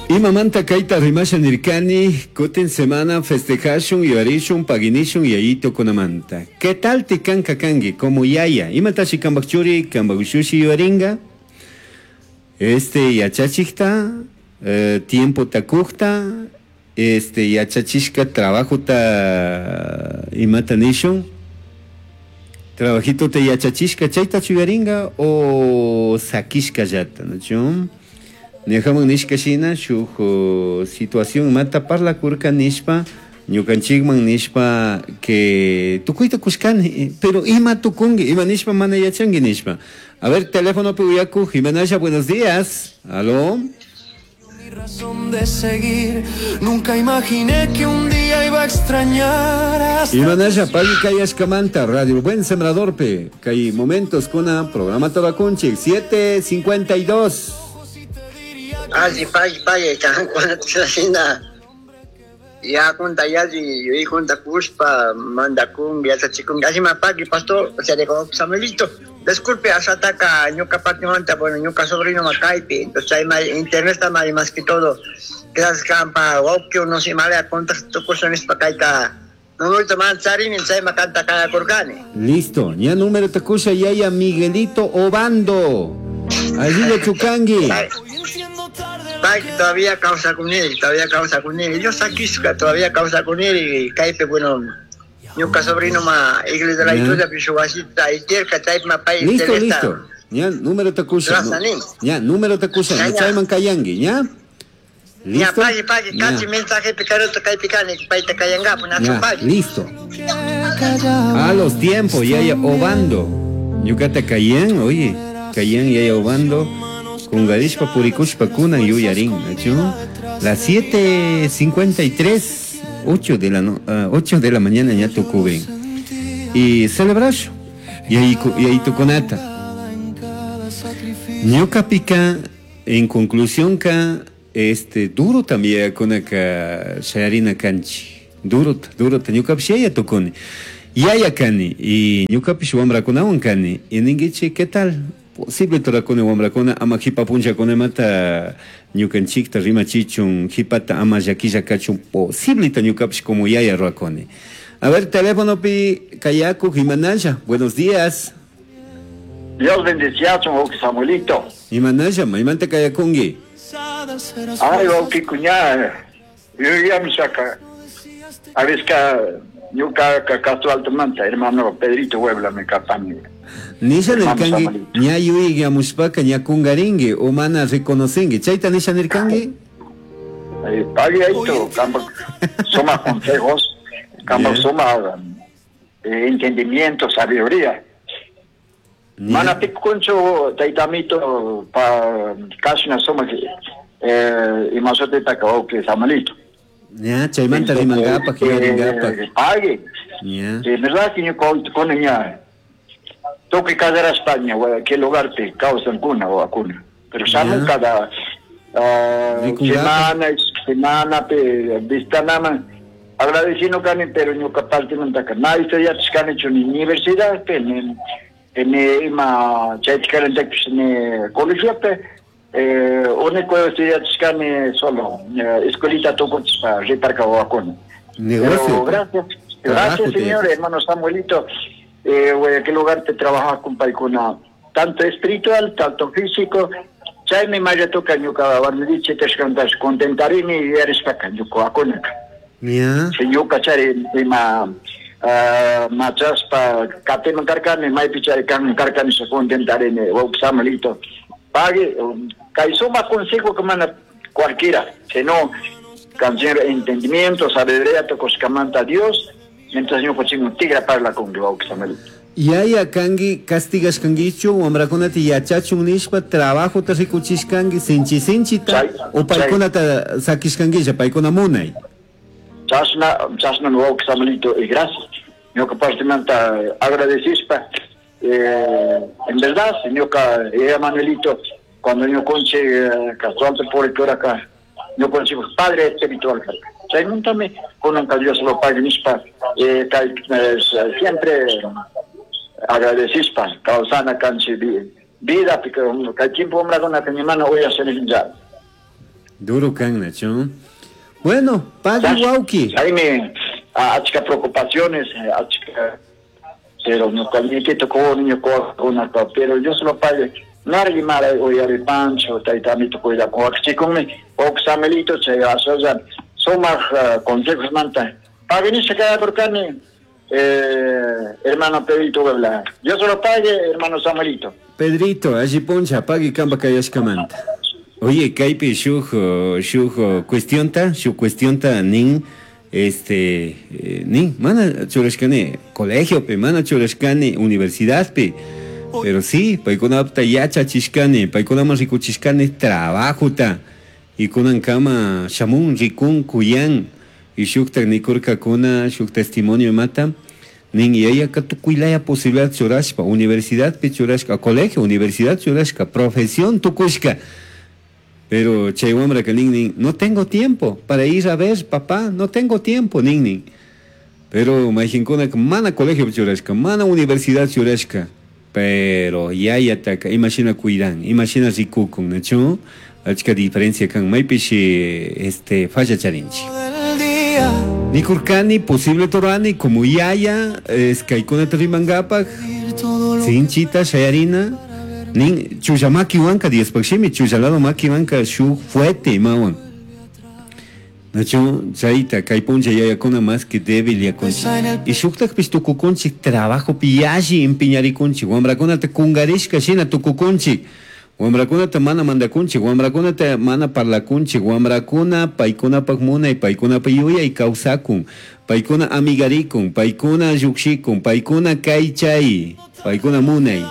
Imamanta kayta rimasha nirkani, kutin semana festejashun, yuyarishun, paginishun yayitukunamanta. ¿Qué tal ti kanka kanki como yaya? Imatashi kambak churi, kambak ushushi yuyaringa? Este yachachikta, tiempota kukta, este yachachishka trabajota imata nishun? Trabajitota yachachishka chaytachu yuyaringa o sakishkallata, nachu? Ñajaman nishka shina shuk situación imata parlakurka nishpa ñukanchikman nishpa que tukuyta kushkani, pero ima tukunki, ima nishpa mana yachanki nishpa. A ver, telefonopi uyakuj, Imanasha, buenos días. Aló. Mi razón de seguir, nunca imaginé que un día iba a extrañar hasta Imanasha, pagui kayashkamanta, Radio Buen Sembradorpe, kay momentos kuna programa Tobakunchik, 7:52. Alli pagui pagui kankunata shina yakunta yalli yuyaykunta kushpa mandakun yachachikun ashima pagui pastor, o sea, de Samuelito. Disculpe, asataka ñuka partimanta, bueno, ñuka sobrino makaypi, entonces chay may internet está mal más que todo. Gracias kampa, wawki no sé mala contacto tukusha nishpa kayta número man charini chay makanta kayakurkani. Listo, ña número takusha yaya Miguelito Obando. Allí lo chukangi. Pay todavía causa con él, todavía causa con él. Yo saquisca todavía causa con él y kaypi, bueno, ñuka sobrino ma iglesia de la historia piso wasita y tierka chay ma pay Listo, interesa. listo. Ña número takusha. Gracias, ni. Ña número takusha, Ya, no ya. chayman kayangi, ña? Ña Listo. pagui pagui Ña. kachi mensaje picaroto kay picani payta kayangapu nachu Ya, pagui. listo. A los tiempos, yaya Obando. Ñukata kayan, oye, kayan yaya Obando. Kungarishpa purikushpa kunan yuyarin, ¿nachu? Las 7:53, 8 de la no, 8 de la mañana ya tucubren. Y celebración. Y ahí y ahí tucunata. Ñuka pica, en conclusión ka, este, duro también con acá shayarina kanchi. Duro, duro, ñuka pish yaya tukuni. Yaya kani, y ñuka pish wamrakunawan kani. Y ninguichi, ¿qué tal? Posible torakuni wamrakuna, ama jipa puncha kunemata ñukanchikta rimachichun, jipata ama llakilla kachun, posible ta ñuka pish como yaya ruakuni. A ver, teléfono pi kayaku, Jimanaya, buenos días. Dios bendecía a Samuelito. Imanaya, maymanta kayakungi. Ay, wawqi cuñada. Yo ya me saca. A veces que ñuka Castro Alto Manta, hermano Pedrito Huebla me capani. Nisha Hermano nirkangi, Samuelito. ña yuyayyamushpaka ña kungaringi o mana reconocengi. Chayta nisha nirkangi? Pague ahí tu, campo, suma consejos, campo Bien. suma entendimiento, sabiduría. Ña. Mana pikuncho taitamito pa casi na suma imasote taka wawqi Samuelito. Ña, chaymanta rimangapak, yuyaringapak. Pague. Ña. De verdad que yo con ña toque cada España o qué lugar te causan cuna o acuna. Pero saben Ya. cada Rikungapa. semana, semana pe vistanama agradeciendo cani pero ñuka parte mantaka. Na historia tishkani chu ni universidad pe ni ni ima chaytikaran ni colegio pe único estudiar tishkani solo escuelita tukuchispa riparka o acuna. Negocio. Pero gracias, Trabajo gracias te- señor, hermano Samuelito. Güey, ¿qué lugar te trabajas con paikuna? Tanto espiritual, tanto físico. Chay mi maya toca ñuka warmidiche tashkantas contentarini y eres paca ñuka akunaka. Ña. Si ñuka chari ima machaspa kateman karkani maypi chari kan karkani se contentarini wawqi Samuelito. Pague, kay suma consejo que mana cualquiera, sino canción entendimiento, sabiduría, tocoscamanta Dios, mientras ñuka chingo tigra parla con wawqi Samuelito. Yaya kangi castigashkankichu wamrakunata yachachun nishpa trabajota rikuchishkanki sinchi sinchita Chay- o paykunata sakishkankilla paykuna munay. Chasna, chasna wawqi Samuelito, y gracias. Ñuka partimanta agradecispa. En verdad, ñuka, Manuelito, cuando yo conche Castro Alto por el acá, yo conche padre espiritual. Chaymuntami, kunanka Dios lo pague nishpa, kay, siempre agradecispa, causana kanchi vida, porque kay tiempo hombre con la que mi hermano voy a hacer ya. Duro kan, Nacho. Bueno, pagui wauki. Chaymi achka preocupaciones, achka, pero ñuka nietito con niño con pero yo solo pague. Nargi mara uyari pancho, tayta amito cuida con wakichikunmi, wawqi Samuelito, chay asalla sumaq consejos manta. Pagui nisha kayapurkani, hermano Pedrito Puebla. Dios lo pague, hermano Samuelito. Pedrito, alli puncha, pagui kamba kayashkamanta. Oye, kaypi shuk shuk cuestionta, shuk cuestionta nin, este, nin, mana churashkani colegiopi, mana churashkani universidadpi, pero sí, paykunapta yachachishkani, paykunaman rikuchishkani trabajota, y kunankama shamun rikun kuyan, y shuktak nikurkakuna, shuk testimonio mata, nin yayaka tukuylaya posibilidad churashpa, universidadpi churashka, colegio, universidad churashka, profesión tukushka. Pero chay wamraka nin nin, no tengo tiempo para ir a ver, papá, no tengo tiempo, nin nin. Pero mayqinkuna mana colegio churashka, mana universidad churashka, pero yayataka imashina cuidan, imashina rikukun, ¿nachu? Achka diferencia kan maypishi este falla charinchik. Nikurkani, posible torani, como yaya, es kaykunata rimankapak, sinchita, shayarina, nin chulla makiwanka Diospaq shimi, chullalado makiwanka shuk fuerte imawan. Nachu, chayta, kay puncha yayakuna más que débil yakunchik. Y shuktakpish tukukunchik trabajopi yalli empeñarikunchik, wamrakunata kungarishka shina tukukunchik. Wamrakunata mana mandakunchik, wamrakunata mana parlakunchik, wamrakuna paykunapak munay, paykunapak yuyay kawsakun, paykuna amigarikun, paykuna llukshikun, paykuna kaychay, paykuna munay.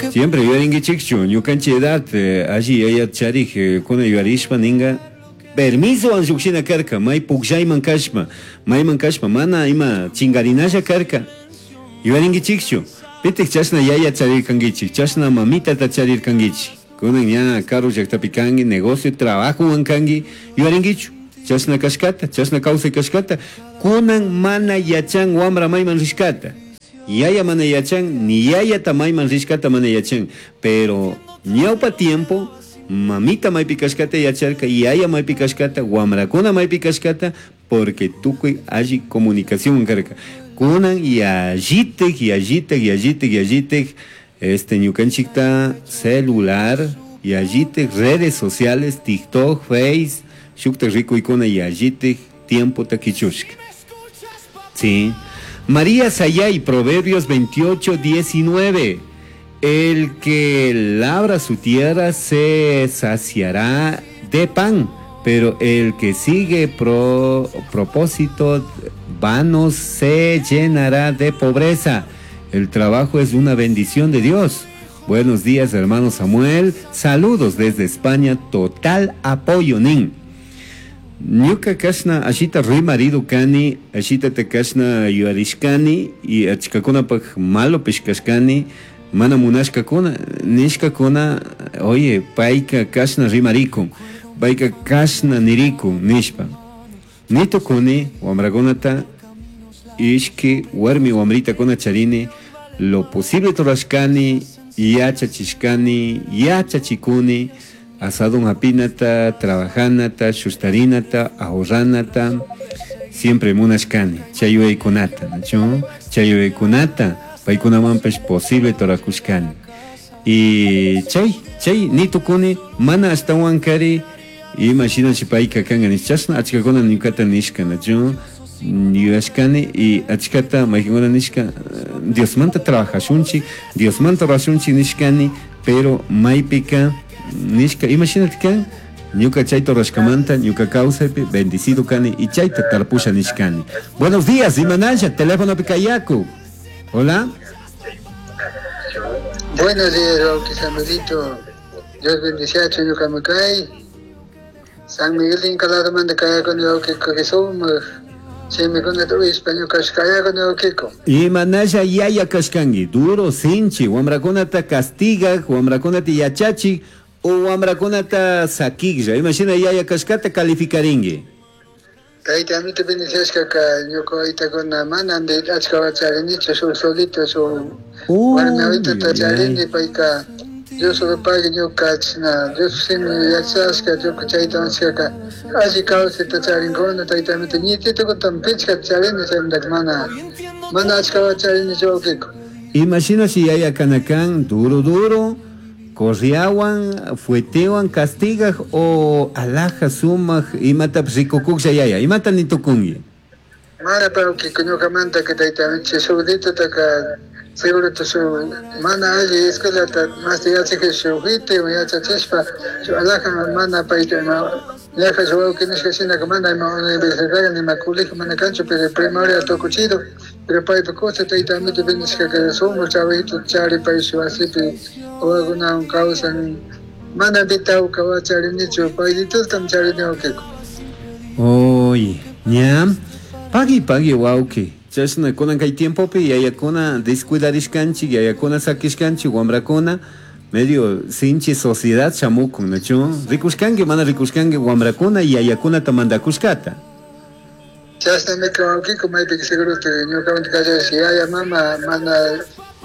Siempre yuyarinkichikchu, ñukanchik edad, alli yaya charik, kuna yuyarishpa ninga, permiso an llukshina karka, may pukllayman kashpa, mayman kashpa, mana ima chingarinalla karka. Yuyarinkichikchu. Pitik chashna yaya charirkankichik, chashna mamitata charirkankichik. Kunan ña karu llaktapi kanki, negocio, trabajowan kanki, yuyarinkichu. Chashna kashkata, chashna kawsay kashkata, kunan mana yachan wamra mayman rishkata. Yaya mana yachan, ni yayata mayman rishkata mana yachan. Pero ñawpa tiempo, mamita maypi kashkata yacharka, yaya maypi kashkata, wamrakuna maypi kashkata, porque tukuy alli comunicación karka. Kunan yallitik, yallitik, yallitik, yallitik, este ñukanchikta celular, yallitik redes sociales, TikTok, Face, shukta rikuykuna yallitik tiempo takichushka. Sí. María Sayay, Proverbios 28, 19. El que labra su tierra se saciará de pan, pero el que sigue propósito vano se llenará de pobreza. El trabajo es una bendición de Dios. Buenos días, hermano Samuel. Saludos desde España. Total apoyo, nin. Ñuka kashna ashita rimaridu kani, ashita te kashna yuarishkani y achkakunapaq malo pishkashkani, mana munashkakuna, nishkakuna, oye, payka kashna rimarikun, payka kashna nirikun, nishpa. Nitukuni, wamrakunata, ishki, warmi wamritakuna charini, lo posible torashkani, yachachishkani, yachachikuni, asado hapinata, trabajanata, shustarinata, ahorranata, siempre munashkani, chayuaykunata, ¿no? Chayuaykunata, paykunamanpish posible torakushkani. Y chay, chay, nitukuni, mana ashtawan kari, ima shinashi payka kanka nish, chashna achkakuna ñukata nishka, ¿no? Yuyashkani y achkata mayqinkuna nishka, Diosmanta trabajashunchik, Diosmanta rurashunchik nishkani, pero maypika nishka, ima shinati kan, ñuka chayta rurashkamanta, ñuka kawsaypi bendecido kani y chayta tarpusha nishkani. Buenos días, imanalla, teléfono picayaku. Hola. Buenos días, wawqi Samuelito. Dios bendiciachu ñuka mikay. San Miguel de Incaladamanta kayakuni wawqiko Jesús. Chaymikunata uyashpa ñukash kayakuni wawqiko. Imanalla yaya kashkanki, duro sinchi, wamrakunata castigaj, wamrakunata yachachik, o wamrakunata sakiklla. Imashina yaya kashkata calificarinki. Tayta amito bendiciashkaka ñuka waytakuna mana achka wacharinichu, shuk solito, shuk warmi waytata charini, payka Dios pague ñuka chashna Dios shimi yachashka ñuka chayta nishkaka alli kawsayta charinkuna tayta amito ñititukuntam pichka charini chaymantaka mana mana achka charinichu wawkiko. Imashina si yaya kanakan duro duro, corriawan, fuetewan, castigaj o alaja sumaj, imatapish rikukuklla yaya, imata nitukunki? Mana wawkiko ñukamanta tayta amito shuk ditutaka seguro shuk mana alli escuelata masta yachakik shuk jitiwan yachachishpa shuk alaja mana payta ima ñaja shuk wawki nishka shinaka mana ima universidad nima colegio mana kanchu pero primaria tukuchido pero paypa kusa tayta amito bendishkaka sumak trabajito chari pay shuk wasipi wawakunawan kawsan mana bitawka wacharinichu paylitutam charini wawkiko. Oy, ña, pagui pagui wawki. Chashna kunan kay tiempopi yayakuna descuidarishkanchik, yayakuna sakishkanchik, wambrakuna medio sinchi sociedad shamukun, ¿nachu? Rikushkanki, mana rikushkanki wambrakuna yayakunata mandakushkata. Chashnami wawkiko maypika seguro ñukamanta kallarish yaya mama mana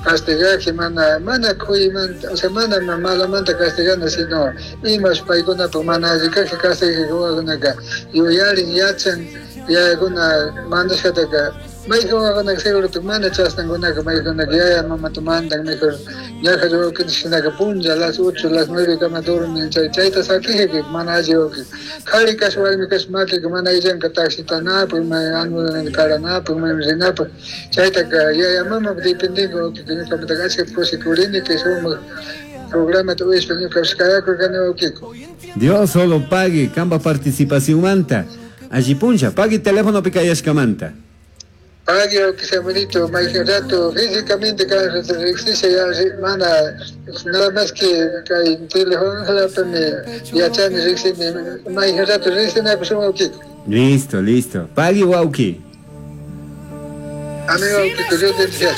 castigaje mana mana kuymanta, o sea mana malamanta castigana sino imash paykunapak mana alli kajpi castigaj wawakunaka yuyarin yachan yayakuna mandashkataka mayjan wawakunaka seguro mana chashnankunaka maykunaka yaya mamata mandan mejor ñaja wawkinchik shinaka punlla las 8 las 9 kama dormin chay chayta sakijik mana alli wawki kari kash warmi kash makika mana illanka taxitanapak may anulanata karanapak mayman rinapak chaytaka yaya mama dependinka wawkiko ñukamantaka achkata kushikurini kay sumak programata uyashpa ñukapish kayakurkani wawkiko. Dios solo pague kamba participación manta. Alli punlla, pague teléfono kayashkamanta. Pagui wawki Samuelito, mayjin rato físicamente kan riksisha ya mana nada más que kay telefonolapimi yachani riksini mayjin rato riksinakushun wawkiko. Listo, listo. Pagui wawki. Amigo wawkiko, Dios bendiga.